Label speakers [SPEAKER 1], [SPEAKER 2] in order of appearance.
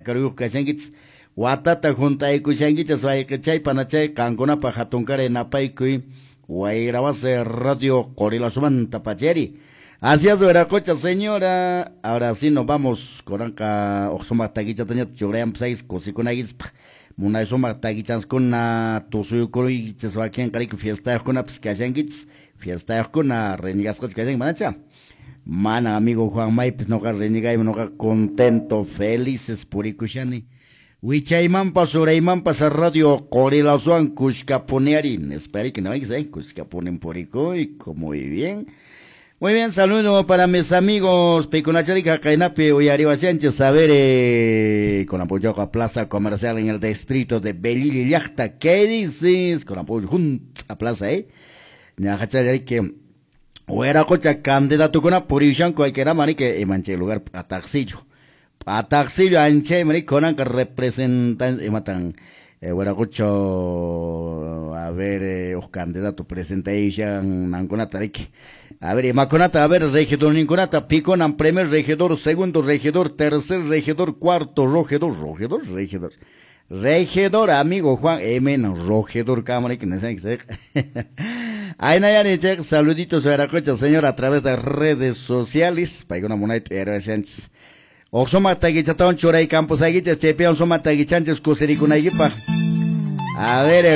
[SPEAKER 1] chakaruyuq kashankichis watata junt'aykushankichis wayqichay panachay qankunapaq hatunkaray napaykuy Wayrawasi Radio Qorilazumanta pachari. Así es, Huiracocha, señora. Ahora sí nos vamos. Kunanqa uq sumaq takichatañata churayanpis kusikunaykichis munay sumaq takichanskuna tusuykuruykichis wakinqa riki fiestayuqkunapis kashankichis fiestayuqkuna renegasqachu kashanki manacha mana amigo Juan Maypis noqa renegaymi noqa contento felices purikushani wichaymanpas uraymanpas Radio Qorilazuwan kushkapuniari nispariki no kushkapunin purikuyku. Muy bien. Muy bien, saludo para mis amigos Picunacharica, Cainapi, Uyariwasianches, a ver, con apoyo a Plaza Comercial en el distrito de Belili Llaqta. ¿Qué dices? Con apoyo junto a Plaza, ¿eh? Ñajachayarique, Huiracocha, candidato con apoyo, hay que era manique, manche lugar, Pataxillo. Pataxillo, anche, manique, con representan, y matan, Huiracocho, a ver, os candidato presentation, nanconata, rique. A ver, Maconata, a ver, regidor Ninconata, Piconan, primer regidor, segundo regidor, tercer regidor, cuarto regidor, regidor, regidor. Regidor, amigo Juan, M, regidor, cámara, que no sé qué. Ahí Nayani, che, saluditos a Huiracocha, señor, a través de redes sociales. Paiguna Munaito, Sánchez. Oxoma Taguichatón, Churay Campos, Aguichas, Chepeón, Soma Taguichanches, Cusericunayipa. A ver,